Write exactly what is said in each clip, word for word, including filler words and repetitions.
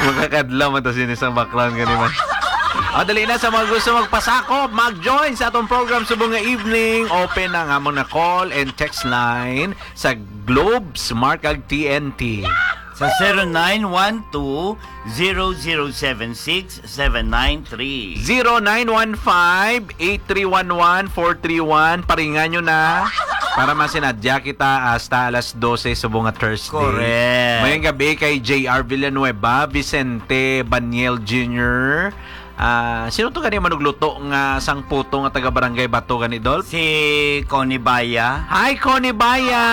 Makakadlaw man to sini sa background gani man. O, dali na sa mga gusto magpasakop, mag-join sa atong program subong nga evening. Open ang among na call and text line sa Globe, Smart kag T N T. Sa zero nine one two, zero zero seven six, seven nine three. Zero nine one five, eight three one one, four three one. Paringan nyo na para masinadya kita hasta alas dose subong nga Thursday. Correct. Mayong gabi kay J R Villanueva, Vicente Baniel Junior. Ah, sino to gani manugluto nga sang puto nga taga Barangay Bato gani, Dol? Si Connie Baya. Hi, Connie Baya!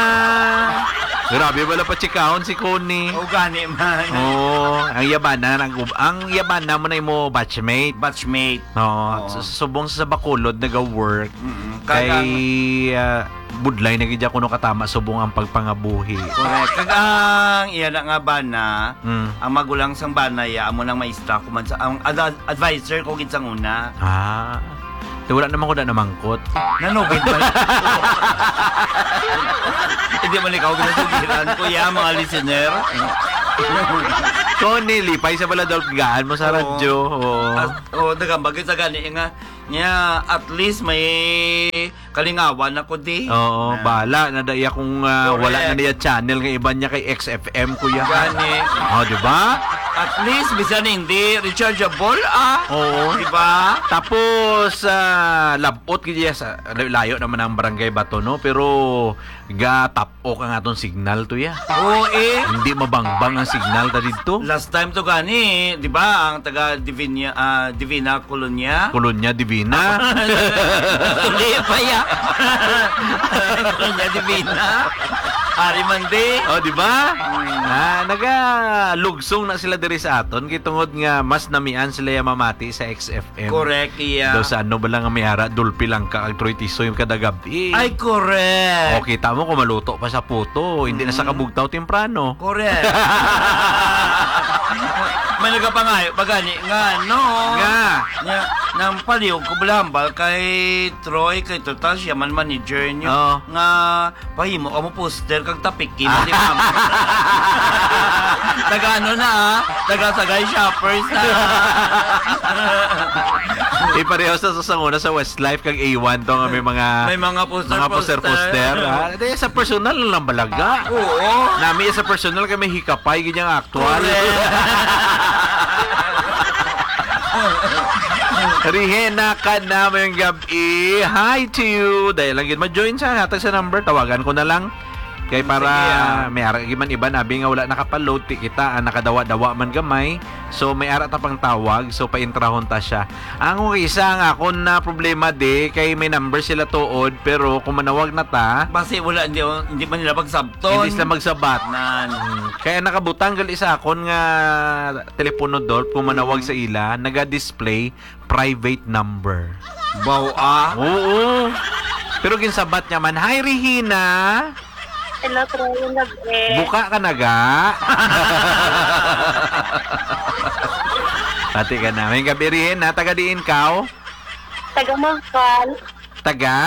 Grabe, wala pa chikahon si Connie. O, gani man. Oo, ang yabana, ang, ang yabana mo na imo batchmate. Batchmate. Oo, Oo. sa, sa subong sa Bacolod, naga-work. Mm-mm. Kay, Kag ang ah, budlay na gid kuno katama subong ang pagpangabuhi. Correct. Kag ang iya na nga bana, Mm. ang magulang sang bana, ya, amo nang maestra ko man sa, ang ad-, advisor ko gid sang una. Ah. Te, wala naman ko na namangkot. Nanugid ba? Hindi man ikaw ginasugiran, kuya, mga listener. Connie, lipay sa bala, Dolph, gaan mo sa Oo. radyo. Oo. As-, oh, nagambag sa gani nga, niya, at least may kalingawan ako di. Oo, Na. bahala na da iya kung, ah, Correct. wala na niya channel nga iban niya kay X F M, kuya. Gani. Oh, di ba? At least, bisan hindi rechargeable, ah. Oo. Di ba? Tapos, ah, labot gid iya sa, layo naman ang Barangay Bato, no? Pero gatap-ok ang aton signal to, ya. Oo, eh. Hindi mabangbang ang signal ta didto. Last time to gani, di ba, ang taga Divina, ah, Divina Colonia? Colonia Divina? Hindi pa, ya. Colonia Divina. Ari man di. Oh, di ba? Hmm. Ah, nagalugsong na sila diri sa aton, kay tungod nga mas namian sila ya mamati sa X F M. Correct, iya. Daw sa ano ba lang nga may ara, Dulpi lang ka, ang Troy Tisoy kada gabi. Ay, correct. O, kita mo kung maluto pa sa puto, hindi na sa Mm. kabugtaw temprano. Correct. May nagapangayo pa gani nga, no? Nga. Nga, nang palihog ko balambal kay Troy, kay total siya man manager nyo. Oo. Nga, pahimo ka mo poster kag tapiki mo si mama. Taga ano na, ah? Taga Sagay Shoppers na. Ipareho sa, sa sanguna sa Westlife kag A one to nga may mga May mga poster, mga poster, poster, poster. Ah. Di, sa personal lang balaga. Oo. Nami sa personal kay may hikapay gid ang aktual. Correct. Rihena ka na mayong gab-, Eh, hi to you. Dahil lang gid ma-join sa hatag sa number, tawagan ko na lang. Kay para Sige, ah. may ara gid man iban abi nga wala nakapaload, ti kita, ah, nakadawa-dawa man gamay. So, may ara ta pang tawag, so paintrahon ta siya. Ang isa ang akon na problema di, kay may number sila tuod, pero kung manawag na ta, Basi wala, hindi, hindi man nila magsabton. Hindi sila magsabat. Nan. Hmm. Kaya nakabutang gali sa akon nga telepono, Dolph, kung manawag Mm. sa ila, naga-display private number. Baw, ah. Oo. Pero ginsabat niya man, "Hi, Regina." Hello, Troy. Yung gabi. Buka ka na, ga? Pati ka na. May gabi, Regina. Taga diin kaw? Taga Mangkal. Taga?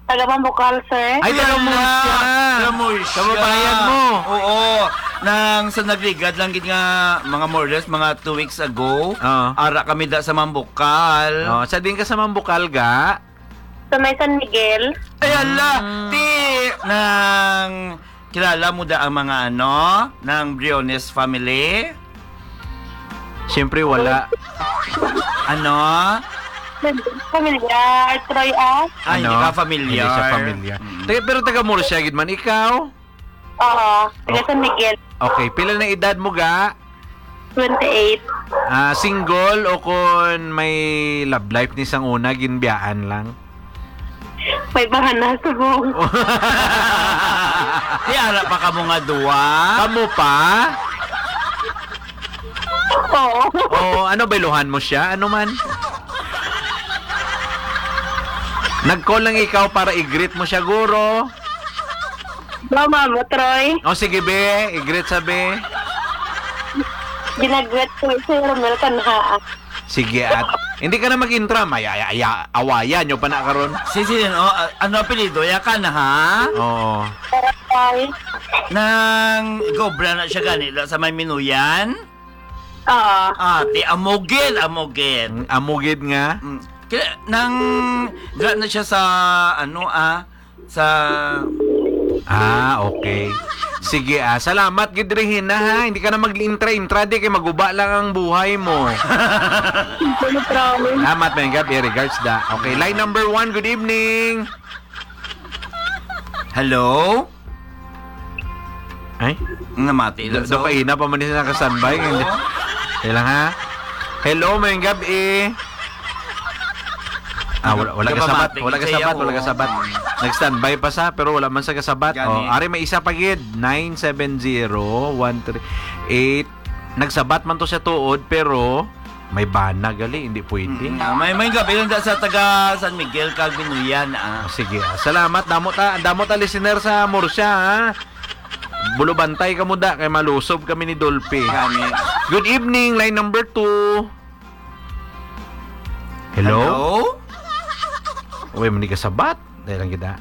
Taga Mambukal, sir. Ay, taga Wala. Murcia. Taga Murcia. Kababayan mo. Oo. Nang sa nagligad lang gid nga mga more or less, mga two weeks ago, Ah. ara kami da sa Mambukal. Oh, sa din ka sa Mambukal, ga? Sa may San Miguel. Ay, ala! Mm. Ti, nang kilala mo da ang mga ano, ng Briones family? Siyempre, wala. Ano? Pamilyar, Troy, ah. Ah, hindi Ano? ka familiar. Hindi siya familiar. Mm. Taga, pero taga Murcia gid man ikaw? Oo, taga San Miguel. Okay, pila na edad mo, ga? Twenty-eight. Ah, single o kon may love life ni sang una, ginbiyaan lang? May bana subong. Di ara pa kamo nga duwa? Kamo pa? Oo. Oo, ano, bailuhan mo siya? Ano man? Nag-call lang ikaw para i-greet mo siya, guro. Mama mo, Troy. O, sige, be. I-greet sa be. Ginagreet ko si Romel Kanhaa. Sige, at Hindi ka na mag-intra, may aya, aya, awayan nyo pa na karon. Si, si, no, ah, ano apelyido? Yakan, ha? Oo. Ay. Nang gobra na siya gani, sa may Minuyan? Oo. Ah, di amugid, amugid. Mm, amugid nga? Mm. Kaya, nang, ga na siya sa, ano, ah, sa Ah, okay. Sige, ah. Salamat gid, Regina, ha? Hindi ka na mag-intra-intra, di kay maguba lang ang buhay mo. Hindi na, promise. Salamat, may gabi. Regards, da. Okay, line number one, good evening. Hello? Ay? Namati Do, lang do sa kaina pa man siya naka-standby. Oo. Hindi. Kailang, ha? Hello, may gabi. Ah, wala, wala Nag-, ka sabat, nagpamati wala ka siya sabat, ako. Wala ka sabat. Nag-standby pa sa, pero wala man sa kasabat. Gani. Oh, ari may isa pa gid, nine seven zero one three eight. Nagsabat man to siya tuod, pero may bana gali, hindi pwede. Mm, ah, may, may gabi lang sa taga San Miguel, Calvin Nuyan, ah. Oh, sige, ah. Salamat, damo ta, damo ta listener sa Murcia, ha? Bulubantay ka mo da, kay malusob kami ni Dolphy. Gani. Good evening, line number two. Hello? Hello? Uy, mani ka sabat. Dahil lang kita.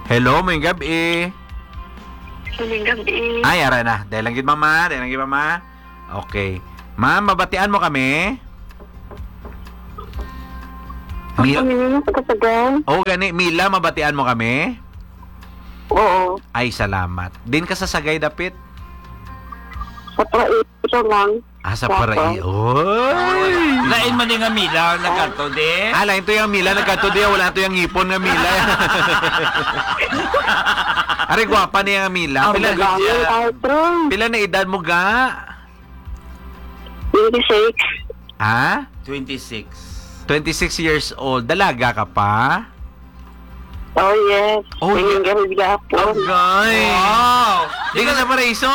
Hello, may gabi. Maayong gabi. Ay, ara na. Dahil lang gid, mama. Dahil lang gid, mama. Okay. Ma'am, mabatian mo kami? Mil- Ano yun? Taga Sagay? Oh, gani. Mila, mabatian mo kami? Oo. Ay, salamat. Din ka sa Sagay dapit? Sa Paraiso lang. Ah, sa Opo. Paraiso. Oy! Lain man yung Mila, nagkadto di? Ah, lain to yung Mila, nagkadto di. Wala to yung ngipon nga Mila. Ari, gwapa niya nga Mila. Ang Pila, gagawin, Artro. Pila na edad mo, ga? Twenty-six. Ha? Twenty-six. Twenty-six years old. Dalaga ka pa? Oh, yes. Oh, Tingin yeah. Kami gapon. Agay. Wow. Di ka sa Paraiso?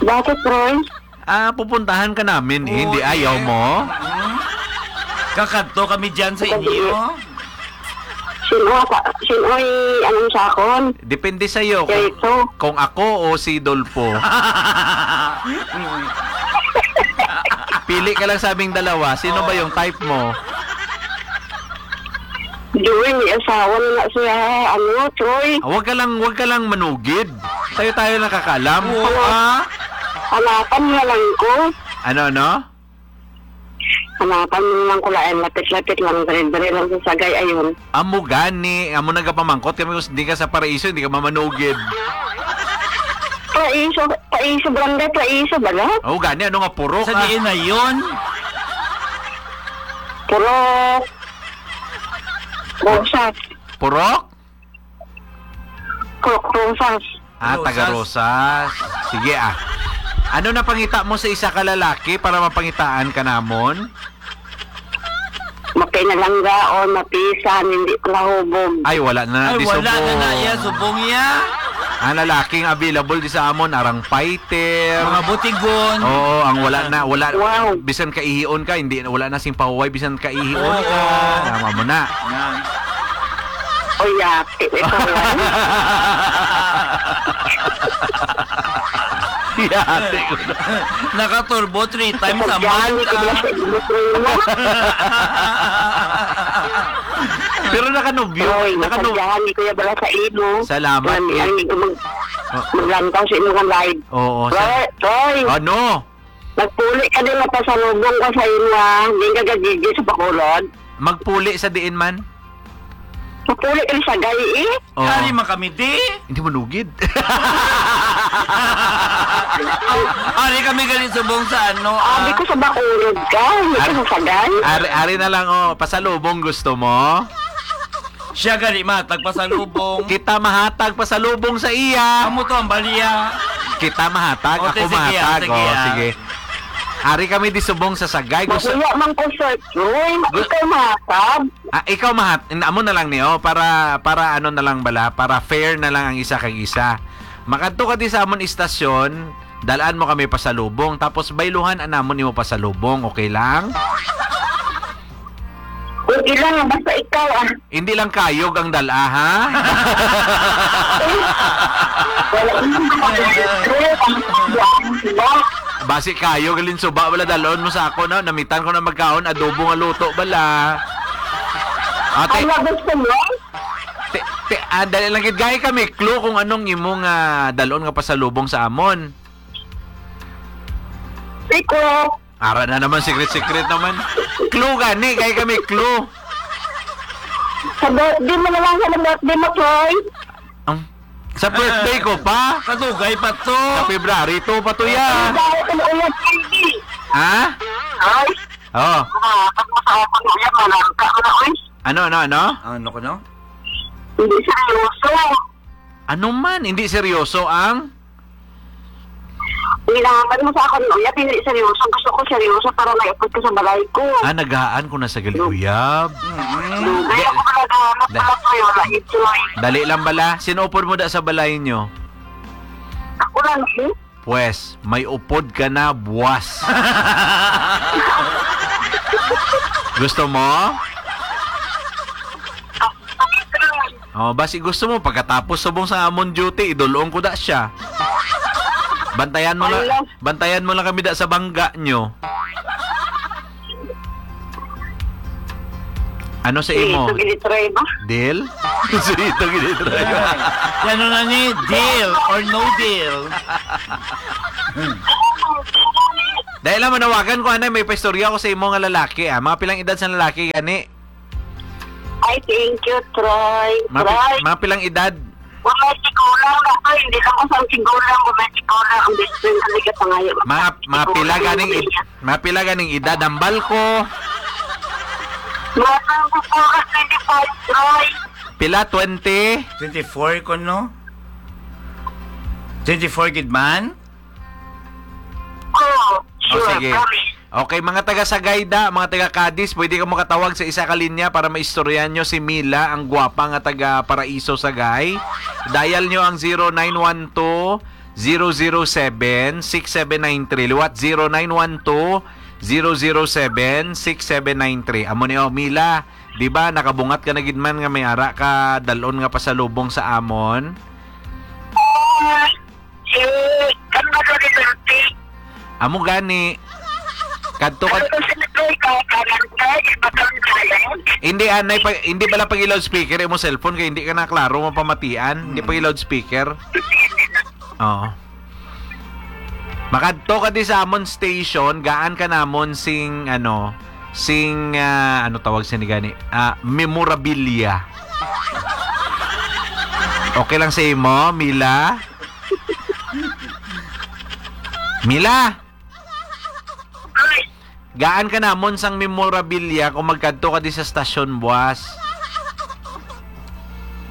Bakit, Roy? Ah, pupuntahan ka namin, eh. Hindi, ayaw mo? Mm. Kakadto kami dyan sa inyo. Sino ka? Sino ay anong sakon? Depende sa'yo kung, Kaya ito. Kung ako o si Dolpo. Pili ka lang sa aming dalawa. Sino ba yung type mo? Joy, may asawa na nga siya, ano, Troy. Ah, wag ka lang, wag ka lang manugid. Tayo-tayo nakakaalam. Oo, ah. Hanapan na lang ko. Ano, ano? Hanapan mo lang ko, lain, lapit-lapit lang, dire-dire lang sa Sagay, ayun. Amo gani, amo nagapamangkot kami kung di ka sa Paraiso, hindi ka mamanugid. Paraiso, Paraiso, barangay Paraiso, bala? Oh, gani, ano nga purok, Sa ah? Diin na yun? Purok. Rosas. Purok? Purok Rosas. Ah, taga Rosas. Rosas. Sige, ah. Ano na pangita mo sa isa ka lalaki para mapangitaan ka namon? Mapinalanggaon, mapisan, hindi pala hubog. Ay, wala na, Ay, di wala na subong. Na iya, subong iya. Ang lalaking available di sa amon, arang fighter. Mga butigon. Oo, ang wala na, wala, Wow. Bisan kaihion ka, hindi, wala na sing pahuway, bisan kaihion ka. Oo. Tama mo na. Yan. O, yati, may pahuway. Yati ko na. Nakaturbo three times a month Kasadyahan ko ka. Bala sa imo, Troy, mo. Pero nakanubyo, Troy, nakanu- nasadyahan ni Kuya bala sa imo. Salamat, Ang, eh. Ang, mag-, Oh. Maglangkaw sa imo nga live. Oo, sa- Troy, Troy. Ano? Nagpuli ka din, mapasalubong ka sa imo, ha? Di ka gagigi sa Bacolod. Magpuli sa diin man? Magpuli ka sa Sagay, eh. Oo. Ari man kami, di? Hindi manugid. Ari kami gali subong sa ano, ah. Abi ko sa Bacolod ka, hindi ka Ari, sa Sagay. Ari, ari na lang, oh. Pasalubong gusto mo? Siya gali mahatag pasalubong. Kita mahatag pasalubong sa iya. Amo to ang baliya. Kita mahatag, O, ako sige, mahatag. Sige, O, ah. Sige. Ari kami di subong sa Sagay. Gusto Makuya man ko, sir. Uy, ma-, Gu- ikaw mahatag. Ah, ikaw mahat-, amo na lang ni, oh, para, para ano na lang bala, para fair na lang ang isa kag isa. Makadto ka di sa amon istasyon, dalaan mo kami pasalubong, tapos bayluhan anamon nimo pasalubong, okay lang? Okay lang, basta ikaw, ah. Hindi lang kayog ang dala, ha? Wala. Pasi kayo, galing suba, wala dalon mo sa ako, no? Namitan ko na magkaon, adobo nga luto, bala. Ah, te-, Ano gusto mo? te-, te-, ah, dali lang, gid, gay kami clue kung anong imong, ah, dalon nga pasalubong sa amon. Siko. Ara na naman, secret-secret naman. Clue gani, gay kami clue. Sa birthday mo na lang, sa birthday mo, Troy. Ang, sa birthday ko pa? Kadugay pa to. Sa February two pa to, ya. Ang dahil ko na ulit, Andy. Ha? Ay. Oh. Mga, pag masaya ko na ulit, malangka ko na, uy. Ano, ano, ano? Ano ko, no? Hindi seryoso. Ano man? Hindi seryoso ang? Nilaban mo sa akon, uyab, hindi seryoso. Gusto ko seryoso para maipod ka sa balay ko. Ah, nagahaan ko na sa gali, uyab. Mm. Dugay ako pala gahanap Da- pala sa'yo, na ito, eh. Dali lang bala. Sino upod mo da sa balay nyo? Ako lang, eh. Pwes, may upod ka na, buwas. Gusto mo? Oh, basi gusto mo, pagkatapos subong sa amon duty, idulong ko da siya. Bantayan mo lang, Ala. Bantayan mo lang kami da sa bangga nyo. Ano sa imo? Ito, ginitry ba? Deal? Sa ito, ginitry ba? Ano na ni? Deal or no deal? Dahil lang manawagan ko, anay, may paistorya ko sa imo nga lalaki, ah. Mga pilang edad sa lalaki, gani? Ay, thank you, Troy. Mga pi-, Troy. Mga pilang edad? Mga sigulang na to, hindi lang ko sa sigulang, mga sigulang, ang best friend talaga sa ngayon. Mga, mga pila ganing ed-, mga pila ganing edad ang balko? Mga twenty-four, twenty-five, Troy. Pila, twenty? Twenty-four ko, no? Twenty-four gid man? Oo, Oh, sure, sige. Promise. Okay, mga taga Sagay da, mga taga Cadiz, pwede ka makatawag sa isa ka linya para maistoryahan nyo si Mila, ang gwapa nga taga Paraiso, Sagay. Dial nyo ang zero nine one two, zero zero seven, six seven nine three. Liwat, zero nine one two, zero zero seven, six seven nine three. Amo ni, oh, Mila, di ba, nakabungat ka na gid man nga may ara ka dalon nga pasalubong sa amon? Si Salvador Duterte. Amo gani. Kadto ka. Ano to, sinabi ka, kanan ka, ibatang ka na yun? Hindi, anay, pa, hindi pala pag loudspeaker imo cellphone kay hindi ka na klaro mapamatian. Hindi pag loudspeaker. Oo. Makadto ka di sa amon station, gaan ka namon sing, ano, sing, ah, ano tawag sini gani? Ah, memorabilia. Okay lang sa imo, Mila? Mila! Gaan ka namon sang memorabilia kung magkadto ka di sa stasyon, buwas.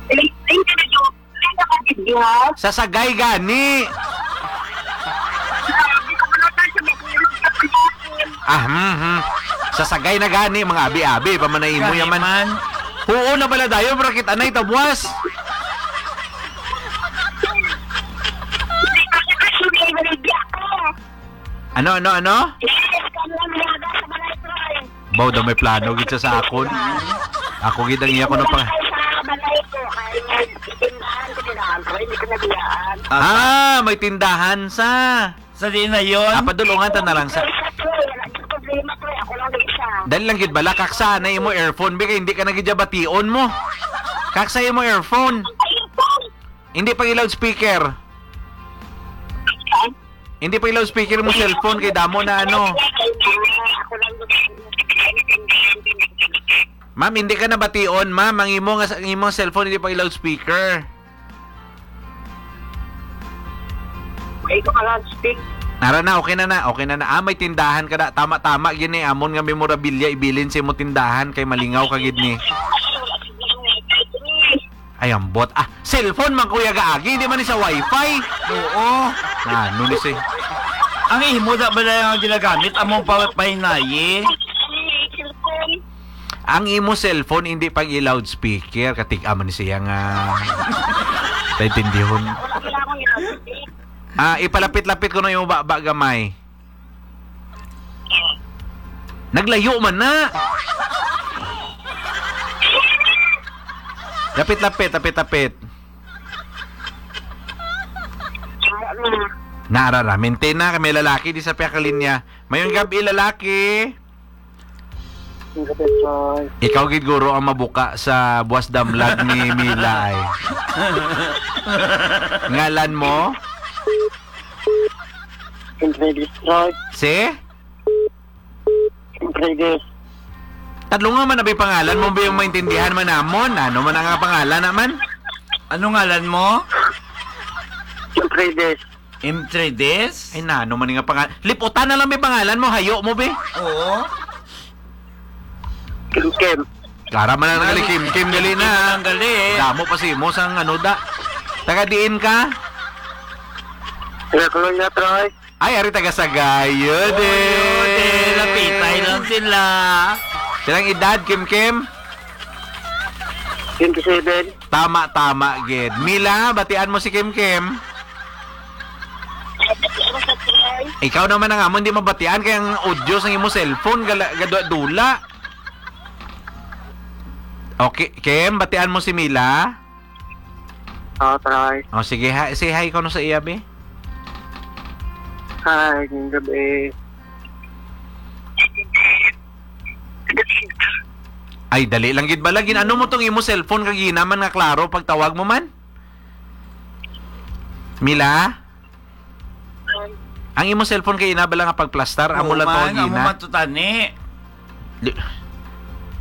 Thank you, thank you. Thank you, Kagidya. Sa Sagay gani. Hindi ko pala tayo sa mga Ah, hmm, hmm. Sa Sagay na gani, mga abi-abi, pa man na imo Gani yaman. Man. Huo na pala dayon, pero kita na ito, buwas. Hindi ko kasi kasi may nalibya ko. Ano, ano, ano? Yes, kami ang mga sa balay ko, eh. Baw daw may plano gid siya sa akon. Ako gid ang iya ko na pa. Sa balay ko, ay, may tindahan ko, tindahan ko, hindi ko nabiyaan. Ah, may tindahan sa. Sa di na yon? Ah, padulungan ta na lang sa. Ay, sa to, eh, wala akong problema to, eh. Ako lang isa. Dali lang gid bala, kaksa na imo earphone, bi, kay hindi ka na gid bation mo. Kaksa imo earphone. Ayun po. Hindi pag loudspeaker. Hindi pag loudspeaker mo cellphone kay damo na ano. Ako lang gid. Ma'am, hindi ka na bation, ma'am. Ang imo nga, ang imong cellphone hindi pag loudspeaker. Ay, ko ka loudspeak. Nara na, okay na na, okay na na. Ah, may tindahan ka na. Tama-tama, gini, amon nga memorabilia, ibilin sa imo tindahan kay malingaw ka gid ni. Ay, ambot. Ah, cellphone man, Kuya Gaagi, hindi man ni sa wifi. Oo. Ano ni si Ang imo da ba na yung ginagamit? Among pa, pahinayi? Ang imo cellphone, hindi pag i-loudspeaker. Katig-a man ni siya nga. Taintindihon. Ah, ipalapit-lapit ko na yung baba gamay. Naglayo man na. Lapit-lapit, lapit-lapit. Naarara, maintain na, kay may lalaki di sa pihak linya. Mayong gabi, lalaki. Ang gabi, Troy. Ikaw gid guro ang mabuka sa buwas damlag ni Mila ay. Ngalan mo? Siyempre, destroy. Si? Siyempre, des. Tadlunga man abi pangalan mo, bi, yung maintindihan man namon. Ano man ang pangalan naman? Ano ngalan mo? Siyempre, des. Imtrides? Ay, nano man nga pangalan. Liputan na lang may pangalan mo, hayo mo, be. Oo. Kim Kim. Klara man lang gali, Kim Kim, gali na. Kim Kim lang gali. Damo pa si mo sang ano da. Taga diin ka? Taga Colonia, Troy. Ay, ari taga Sagayod, Oy, eh. Oy, lapitay lang sila. Silang edad, Kim Kim? Twenty-seven. Tama, tama, gid. Mila, batian mo si Kim Kim? Ikaw naman ang amon di mabatian kay ang audio sang imo cellphone gala- gadula-dula. Okay, Kim, batian mo si Mila? Oh, try. Oh, sige, hi, say hi ko no sa iya, be. Hi, ngayong gabi. Ay, dali lang gid bala. Gin-ano mo tong imo cellphone kag ginaman nga klaro pagtawag mo man? Mila? Ang imo cellphone kay ina bala nga pagplastar, amo Oo lang to man, amo gina. Man to tani. Li-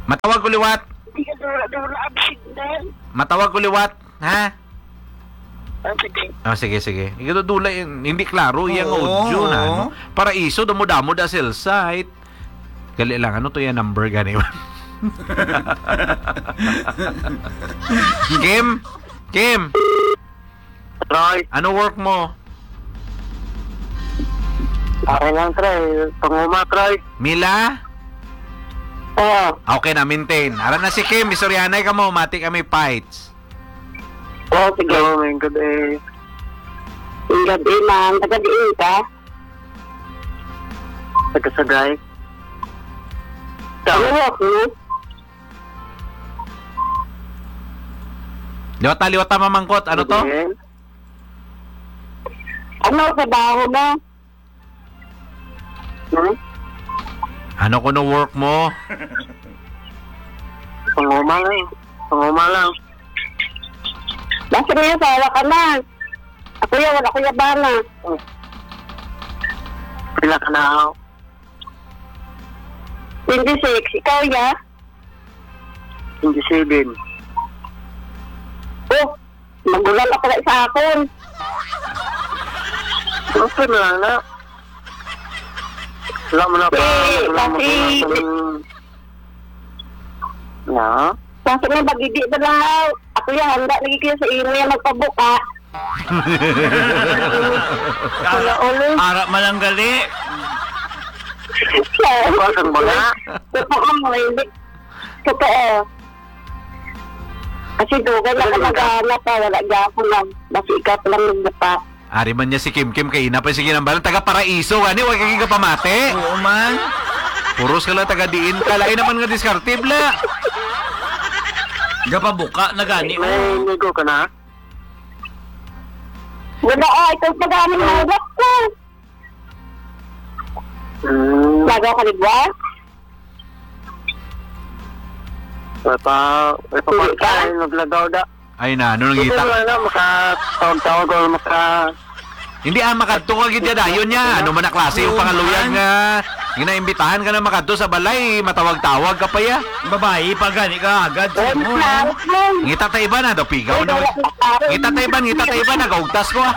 Matawag ko liwat. Hindi ka dula, dula ang signal. Matawag ko liwat, ha? Ah, sige. Ah, sige, sige. Ikaw dula yung, hindi klaro yung Oo, audio na, oo. No? Paraiso, damo-damo da cell site. Gali lang, ano to yung number gani? Kim? Kim? Troy. Ano work mo? Okay lang, Troy. Panguma, Troy. Mila? Oo. Okay na, maintain. Ara na si Kim, istoryahanay ka mo, mati kami fights. Oo, sige. Hello, may good day. May good day, ma'am. Taga diin ka? Taga Sagay. Ano work mo? Liwata, liwata, mamangkot. Ano to? Sige. Ano trabaho mo? Hmm? Ano ko no work mo? Panguma lang. Panguma lang. Basta may asawa ka na. Ako yan, wala ko yabana. Pila ka na ako? Twenty-six. Ikaw, ya? Twenty-seven. Oh, magulang ako na sa akon. Okay na lang na. Wala mo na pa. Eh, wala mo kasi na. Kasi nga, magidi na lang. Ako yan, handa lagi kayo sa imo yan, magpabuka. Ara, Wala, ulo. Ara man lang gali. Pasang ba nga? Totoo mo, hindi. Totoo. Kasi dugay na ka Ano ka? Naghahanap pa, wala niya ako lang. Basi ikaw pa lang nagbuka. Ari man niya si Kim Kim, kay ina pa sige nang balan. Taga Paraiso, gani, wa ka gapamati. Oo man. Puros ka lang taga diin ka. Lain naman nga diskarte, bla. Gapabuka na gani, May oh. Ligo ka na? Wala, ay, kung pag-amin na, wala ko. Hmm. Bago ka, di ba? May pa, may pa Hindi ka? Pagkain, naglagaw da. Ay na, ano nang Hindi kita? Mo na, makatawag-tawag o maka- Hindi, ah, makadto ka gid dayon niya. Ano man na klase yung Oo, pangaluyag man. Nga ginaimbitahan ka na makadto sa balay, matawag-tawag ka pa ya. Babayi pa gani ka agad sa Ay, imo, ha? Naku. Ngita ta iban, ha? Daw pigaw Ay, na. Wala ko tao. Ngita ta iban, ngita ta iban, nagaugtas ko, ah.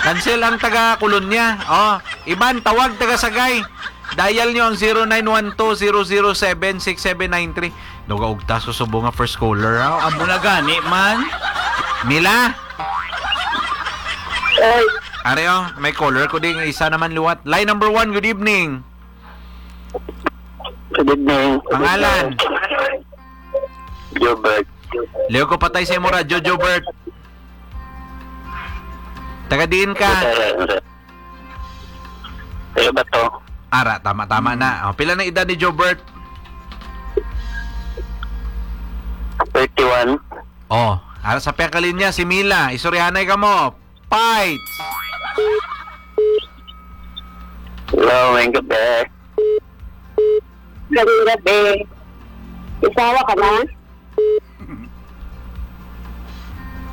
Cancel ang taga Kolonya. Oh, iban, tawag taga Sagay. Dial nyo ang zero nine one two, zero zero seven, six seven nine three. Nagaugtas ko sa bunga first caller, ha? Amo na gani man. Mila? Oy. Are, oh, may caller ko ding isa naman liwat. Line number one, good evening. Good evening. Pangalan? Gilbert. Liw ko patay sa imo radyo, Jobert. Taga diin ka? Sir, sir. Taga Bato. Ara, tama-tama na. Oh, pila na edad ni Jobert? Thirty-one. Oh, ara sa piyakalinya, si Mila. Istoryahanay ka mo. Fights! Hello, may gabi. Magandang gabi. Asawa ka na?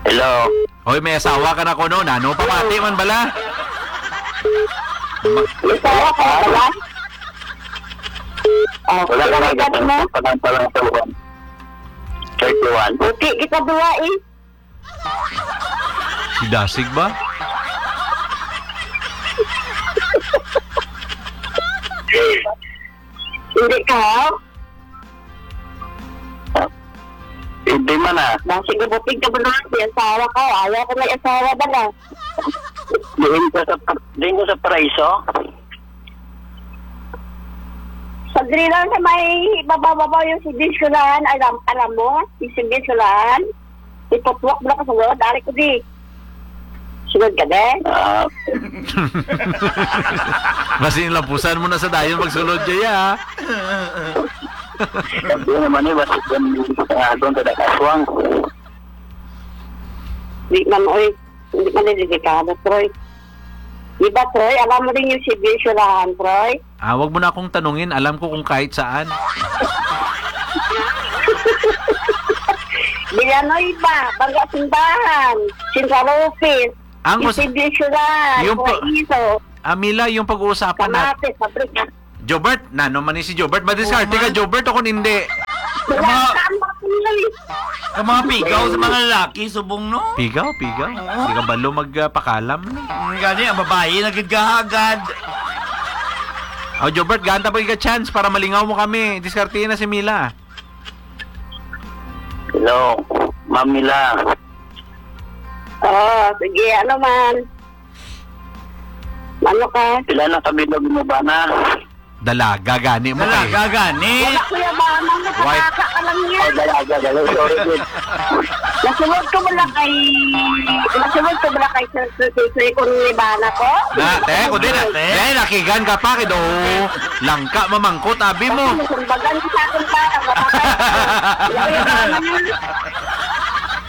Hello. Hoy, may asawa ka na kuno, nano? Pamati man bala. May asawa ka na bala? Oh, wala ka na, edad mo? Palang, palang, palang. Thirty-one. Puti kita duwa eh. Si Dasig ba? Hindi ka? Hindi man, ah. Dasig, buting ka ba na? May asawa ka? Ayaw ko may asawa ba na? Diin ko sa, diin ko sa Paraiso? Sa diri lang sa may babaw-babaw yung si Bisulahan, alam, alam mo? Yung si Bisulahan? Iputwak mo na ka sulod, ari ko di. Sulod ka di? Ah. Kasi yung lampusan mo na sa dayon, magsulod kaya, ah. Hindi naman eh, basta kung, ah, doon ka nakaswang. Di man, oy. Hindi man delikado, Troy. Di ba, Troy? Alam mo din yung si Bisulahan, Troy? Ah, wag mo na akong tanungin. Alam ko kung kahit saan. Villanueva, Bangga Simbahan, Central Office, Ang us- Isibyo Siyudad, yung pa- Guaizo, ah, Mila, yung pag-uusapan na- Kamates, Fabrika. Jobert, nano man ni si Jobert? Madiskarte ka, Jobert, o kung hindi? Wala Kama- ka ang mga pinili. Ang mga pigaw sa mga lalaki, subong, no? Pigaw, pigaw. Oo. Di ka balo magpakalam, no? Mm, gani, ang babae, nagigahagad. O, Jobert, gaan ta pa ka chance para malingaw mo kami. Diskarte na si Mila. Hello, Ma'am Mila. Oo, sige, ano man? Ano ka? Pila na ka bilog mo ba na? Dalaga gani mo kay. Dalaga gani. Wala, Kuya Bana, Why? Nakakaka ka lang yan. Ay, dalaga, dalaga. Sorry, dude. Nasunod ko wala kay, nasunod ko wala kay Sir Sir Sir Sir kung ni Bana ko. Na, te, kundi na. Te? Te, nakigan ka pa, kido. Langka, mamangkot, abi mo. Kasi nasunbagan ko sa akong bata, mapatay. Wala, Kuya Bana, yun.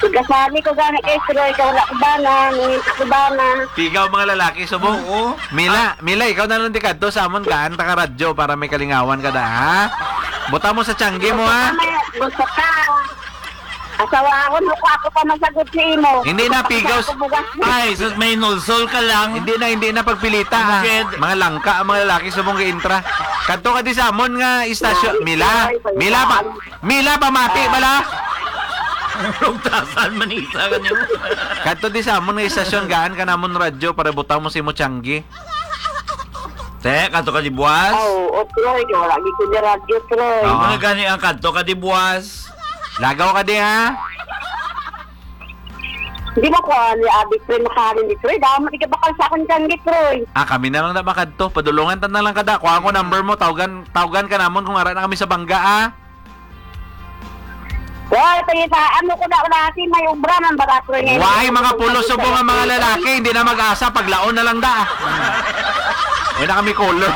Gasali ko gani kay Sir Roy, kay wala ko Bana, nangita ko Bana. Pigaw mga lalaki, subong. Oo. Mila, Mila, ikaw na lang di kadto sa amon, gaan ta ka radyo para may kalingawan ka da, ha? Buta mo sa tiyanggi mo, ha? Gusto ka. Asawahon mo ko, ako pa masagot sa imo. Hindi na, pigaw. Ako bugas. Ay, sus, may nulsol ka lang. Hindi na, hindi na pagpilita, ha? Bukid. Mga langka ang mga lalaki sa mong intra. Kadto ka di sa amon nga istasyon. Ay, Mila, ay, Mila, pa, ay. Mila, pamati, Ah. bala. Rugtasan, manisa ka niyo. Kadto di sa amon nga istasyon, gaan ka namon radyo para butang mo sa imo tiyanggi. Te, kadto ka di buwas? Aw, o, Troy, kay wala gid ko ni radyo, Troy. Oo. Ano gani ang kadto ka di buwas? Lagaw ka di, ha? Di ba ko, ah, ni Abi, Troy, makahalin di, Troy? Damo, di ka bakal sa akon dyan, di, Troy. Ah, kami na lang na makadto. Padulungan ta na lang kada. Kuha ko number mo, tawgan, tawgan ka namon kung ara na kami sa bangga, ah. Wala, pangita, ano ko na, wala, si may obra man, bala, Troy, ngayon. Why, mga pulos subong ang mga lalaki, hindi na mag-asa, paglaon na lang da. Wala na kami color.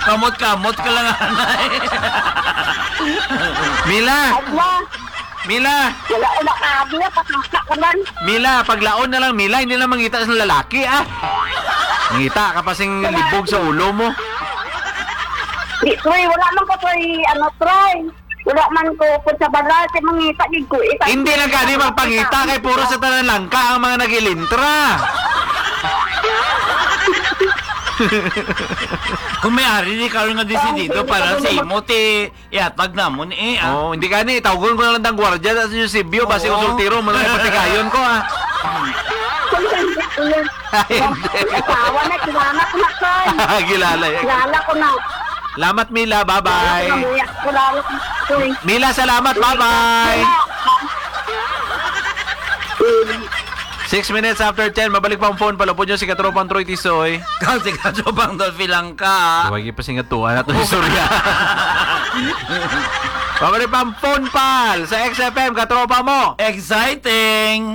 Kamot-kamot ka lang, anay. Mila. Adwa. Mila. Wala ko nakabi, pataka ka man. Mila, paglaon na lang, Mila, hindi na mangita sa lalaki, ah. Mangita ka pa sing libog sa ulo mo. Di, Troy, wala man ko, Troy, ano, Troy. Wala man ko, kung sa balay, si mangita, di ko, ita- Hindi na gani magpangita kay puro sa tanan langka ang mga nagilintra. Kung may ari, di karon nga desidido para sa imo, ti, ihatag namon, eh, ah. Oh, hindi gani, tawgon ko na lang tang gwardiya sa Eusebio, basi Oo. Ko soltero, mga patigayon ko, ah. Ay, hindi. Asawa na, kilala ko na, Troy. Kilala yan. Kilala ko na. Salamat, Mila. Bye-bye. Kilala ko na, Mila, kilala ko na, Troy. Mila, salamat. Bye-bye. Mm. Six minutes after ten, mabalik pa ang phone. Palupod nyo si Katropang Troy Tisoy. Kang si Katropang Dolphy lang ka. Huwag ipasingatuan nato yung istorya. Pabalik pa ang phone, pal. Sa X F M, katropa mo. Exciting!